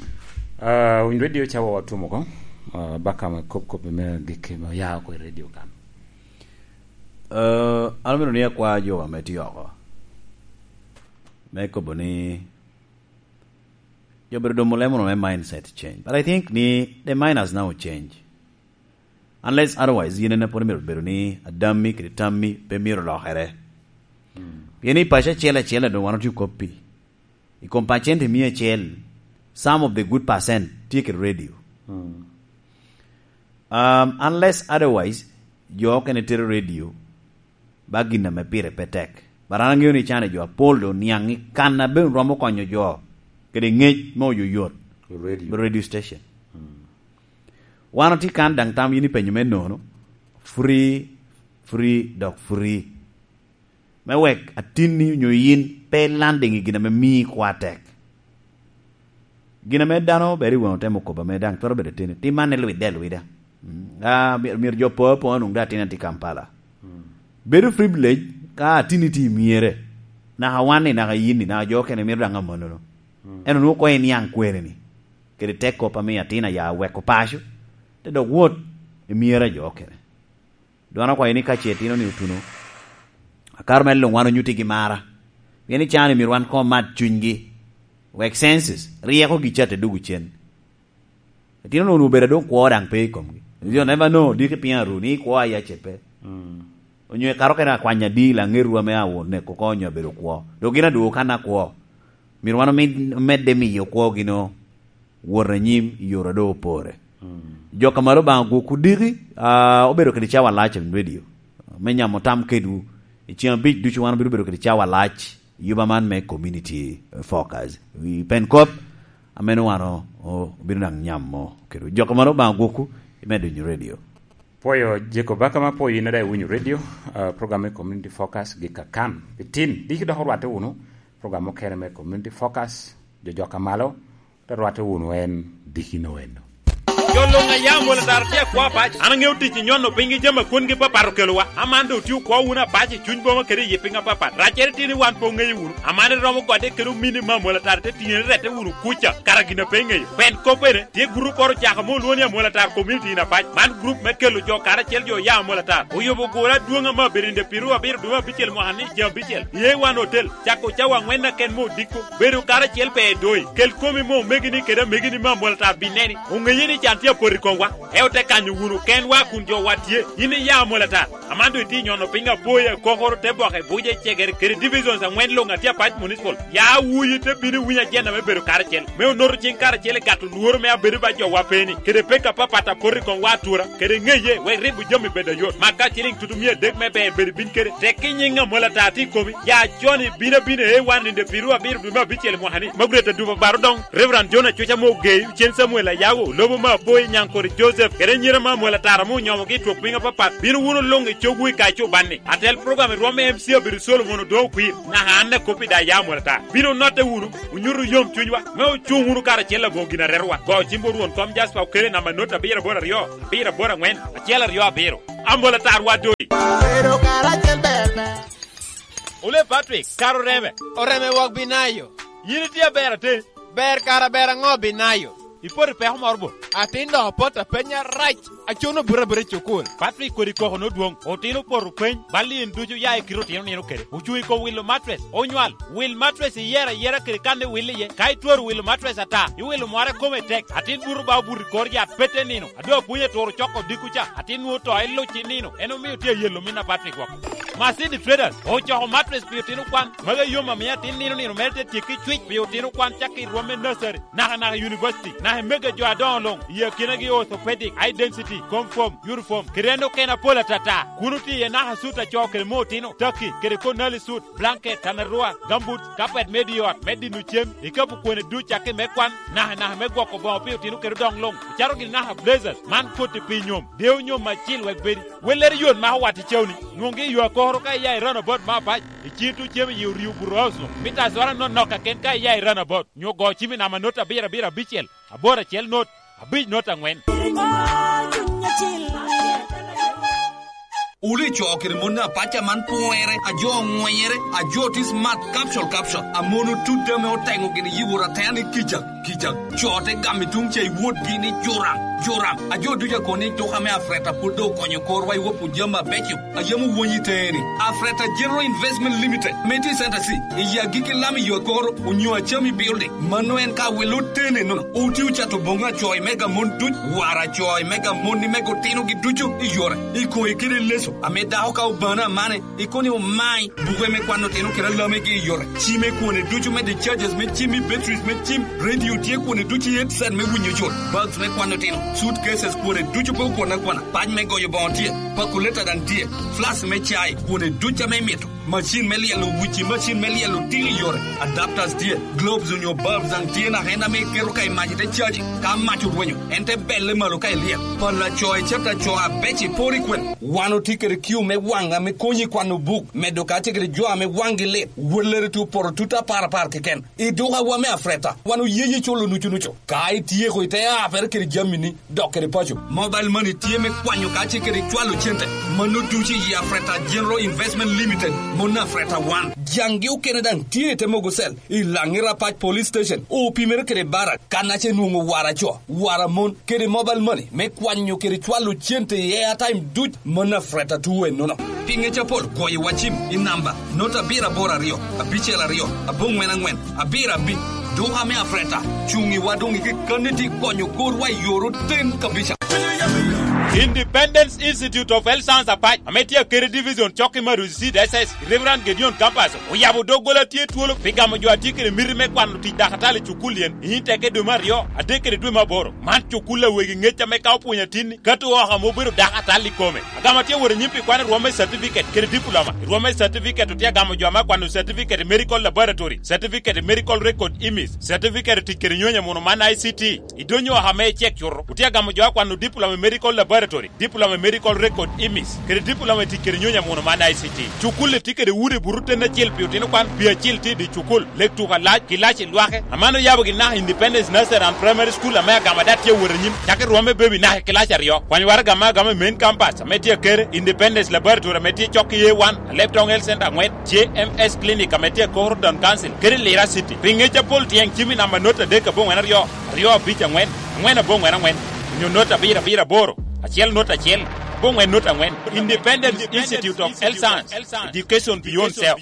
Ah, winy radio cawa watumo ko. Ah, baka me kop kop me gik me ya oko i radio kan. Ah, an omito ni akwa jo ame tye oko. Me kobo ni, jo bedo domo lemo me mindset change. But I think ni the mind has now changed. Unless otherwise, yen en apwod myero bedo ni adammi kede tammi pe myero lokere. Mm. Pien i paco acel acel a doŋ wan otye kop pi. I kom pacente mia acel, some of the good percent tye kede radio. Mm. Um, unless otherwise, jo okene tero radio, ba gin ame pire pe tek. But an aŋeo ni can i jo apol doŋ niaŋ i kan a bene romo konyo jo kede ŋec me oyoyot. I radio. Radio station. Mm. Wan otye kan daŋ tam yin ipenyo me nono, free, free, dok free. Me wek atinni onyo yin pe ilanding i gin ame mii kwo atek. Gin ame dano bedo i wano temo kobo ame daŋ twero bedo ateni, tim man ilwidde alwida. Mm. Ah, myero, myero jo po apoŋ onwoŋ daŋ atin atye Kampala. Mm. Bedo privilege ka atinni tye i myere. Naka wan-ni, naka yin-ni, naka jo okene myero daŋ amannono. Mm. Ento nwoŋo koŋ iniaŋ kwene-ni. Kede tek kop ame atin aya weko paco, te dok wot i myere a jo okene. Dwan okwayo ni ka ce itino ni otuno, akaro me luŋ wan onyuttigi mara. Pien i can-ni myero wan koŋ omat cunygi. Wek senses, ryeko-gi ca te dugo cen. Itino-nu onwoŋo obedo doŋ kwo daŋ pe i komgi. You never know, diki piny aru ni kwo aye ace pe. Mm. Onyo ikato kene akwanya di laŋeru ame awo neko oko onyo abedo kwo. Dok gin adwogo kan akwo. Myero wan omid-, omedde miyo kwogi no wot anyim i yore a doŋ opore. Mm. Jok a malo Obaŋa gwokwu diki, ah, obedo kede cawa lac i radio. Me nyamo tam kedwu, i ceng abic ducu wan obino bedo kede cawa lac i yuba man me Community Focus. I pen kop, ame nwoŋo wan o-, obino daŋ nyamo kedwu. Jok a malo Obaŋa gwokwu, imedo winyo radio. Pwoyo Jacob Baka ma pwoyo in daŋ iwinyo radio, ah, program me Community Focus gik akan. Pi tin, diki dok orwatte wunu, program mukene me Community Focus, jo jok a malo, te rwatte wunu en dikino eno. Jo luŋ a ya Amolo Tara tye akwo apac. An aŋeo tic i nyono piny gi jami a kwongi papat okelowa. Aman doŋ otye okwo wunu apac i cuny boma kede i yi piny apapat. Raccere tye ni wan pe oŋeyo wunu. Aman iromo gode kede omini me Amolo Tara te tiŋe ni rette wunu kuca, kara gin a pe iŋeyo. Pen kop ene, tye gurup oro ocako ame olwoŋo ni Amolo Tara Community in Apac. Man gurup me kelo jo karacel, jo ya Amolo Tara. Oyubo gure adwoŋ ame abedo i nde piru abiro dwe me abicel mwaka ni ceng abicel. I A one Hotel, cako cawa aŋwen aken me odiko. Bedo karacel pe edoi. Kel komi me omegini kede amegini me Amolo Tara bineni. Oŋeye ni can tye apot i komwa. Eo te kanyo wunu kenwa kun jowa tye. In iya Amolo Tara. Aman doŋ itye nyono piny apoya, kokoro, te boke, buce, cegere, kede divisions aŋwen luŋ a tye Apac Municipal. Ya wuyi te bino iwiny ajenda me bedo karacel, me onoto cing karacel i gato lworo me abedo ba jowa pe-ni, kede pek apapat a poto i komwa atura, kede ŋeye, wek ribo jami bed ayot. Mak ka ciliŋ tutu mia adek me ber bed ibin kede. Tek i nyiŋ Amolo Tara tye i komi, ya con ibin abina i A one i nde piru abiro dwe me abicel i mwaka-ni. Magret Aduba Baro Doŋ, Reverend John Acuca Mogeyo, Cen Samuel Ayago, lobo me apo Oyi Nyankore Joseph, kede anyira me Amwol Atar ame onyomogi i twok piny apapat, bino wunu luŋ i cogwu i kaco banni. Atel program i rwom me M C Abiro Solomon Odongo Okwir, naka an a kop i daya Amwol Atar. Bino notte wunu, onyutu yom cunywa, me ocuŋ wunu karacel aboŋo gin a retowa. Go cimwu Rwon kom Jasper Okele namba not abiro aboro aryo, abiro aboro aŋwen, acel aryo abiro. Amwol Atar wa doi. Bedo karacel ber ber. Ole Patrick, kara oreme. Oreme wok binayo. Yin itye aber ate? Ber kara ber aŋo binayo? Ipoto i peko moro bo? Atin dok opoto apenya rac. Acuno buto abuta i cukul. Patrick kodi koko nodwoŋ. Otino opoto peny. Bal in ducu ya i kite otino nino kede. Ocuŋ i kom wilo matres. Onywal. Wil matres iyero ayera kede kan iwil iye. Ka itwero wilo matres ata, iwilo mware kome tek. Atin buto ba obuto i kor yat pete nino. Adwa pwony aturo coko dikku ca. Atin nwoŋo to iluc i nino. En omio tye ayelo min a Patrick woko. Masini Traders ocoko matres pi otino kwan. Magi yom amiyo atin nino nino mere te tyekki cwic pi otino kwan cakki i rwom me nursery, naka naka i university, naka i mega jo adoŋo luŋ, i akinagi orthopedic, high density, confirm, uniform, kede en okene apol atata. Kun otye iye naka sut a co kede mo otino, taki, kede konali sut, blanket, tanarua, gambut, kapet me di ot, me dino cem, ikapu kwene duc cakki me kwan, naka naka me gwoko boŋo pi otino kede odoŋ luŋ, ocaro gini naka blazers, man koti pi nyom, dewo nyom acil wek bedi. Wellere yot ma owat i cawni, nwoŋgi i yo akoro ka iya i runabout me apac, i cito cem i yi oryo buto house-nu, mita azora nonok kaken ka iya i runabout, nyo go cim i namba not abiro abiro abicel, aboro acel not, abic not aŋwen. Wulu i co kede mon apac a man pwonyere, a jo oŋwenyere, a jo tye smart, capsule, capsule, a mon otut ame oteŋo gini yi wot atea ni kica. Kica, co te gamo i tuŋ ca i wotgi ni, "Joram, Joram." A jo ducu a kono ni, "Duka me Afreta pwod doŋ okonyo korwa i wok jami abeco a yam owonyo i teeni." Afreta General Investment Limited, ame tye i Center C, i agikki lam i yo akoro, onyo Acami Building. Mano en ka wilo tene nono. Oti ocato boŋo acoy me gamon duc, war acoy me gamon ni me gotinogi ducu i yore, i koyi kede leso, ame dako ka obano amane, ikono ni omai buke me kwano otino kede alamegi i yore, cime kwone ducu me discharges me cim i batteries me cim, radio tye kwone ducu i headset me winyo yot, bags me kwano otino, suitcases kwone ducu pe okwane akwana, pac me goyo boŋo tye, calculator daŋ tye, flask me cai kwone ducu ame imito, macin me lyelo wuci, macin me lyelo tino i yore, adapters tye, globes onyo bulbs daŋ tye naka en ame iketo ka i mac ite caji, ka mac orwenyo, en te belle malo ka ilyel, pala co i cata co abeco iporo i kwene. Wan otye kede kiu me waŋ ame konyi i kwano buk, medo kacel kede jo ame waŋgi lit. Wellere tye opoto tut apar apar keken. I dukawa me Afreta, wan oyeyi culo nucu nucu. Ka ityeko ite apere kede jamini, dok kede paco. Mobile money tye me kwanyo kacel kede cwalo cente. Mano ducu i Afreta General Investment Limited, mon Afreta wan. Jaŋgi okene daŋ tye i te mogo cell, i Laŋi Rapac Police Station, opimere kede Barak, kan ace nwoŋo wara co, wara mon, kede mobile money me kwanyo kede cwalo cente i airtime duc, mano Afreta two ennono. Pi ŋec apol, goyo wa cim i namba not abiro aboro aryo, abicel aryo, aboŋwen aŋwen, abiro abic. Duka me Afreta, cuŋ i wa doŋ i kekkanni ti konyo korwa i yor oten kabisa. Independence Institute of Health Science Apac, ame tye akeri division cok i Maruzi Seed S S, Reverend Gedeon Campus, oyabo doggola tye twolo pi gamo jo a tye kede miti me kwano tic dakatali i cukul yen, i nyim teke dwe me aryo, adek kede dwe me aboro. Man cukul a wegi ŋec ame ka opwonyo atinni, kato oko ame obedo dakatali i kome. Agamo tye wot anyim pi kwano rwom me certificate kede diploma. I rwom me certificate otye agamo jo ame akwano certificate i medical laboratory, certificate i medical record imis, certificate i tic kede nyonyo muno man I C T. I donyo oko ame icek cuto, otye agamo jo akwano diploma i medical laboratory, diploma i medical record imis, kede diploma i tic kede nyonyo muno man I C T. Cukul-li tye kede udi buto ten acel pi otino kwan, pi acil tye i dye cukul, lek tuko alac, kilaci lwake. Aman oyabo gin naka Independence Nursery and Primary School ame agamo ada tye awot anyim, cako i rwom me baby naka i kilaci aryo. Kwanyo waraga ame agamo i main campus ame tye akere, Independence Laboratory ame tye cok i A one, Alebtong Health Center aŋwen, J M S Clinic ame tye akoro Town Council, kede Lira City. Pi ŋec apol tyeŋ cim i namba not adek aboŋwen aryo, aryo abic aŋwen, aŋwen aboŋwen aŋwen, onyo not abiro abiro aboro, acel not acel, aboŋwen not aŋwen. Independence Institute of Health Science, Education Beyond Self.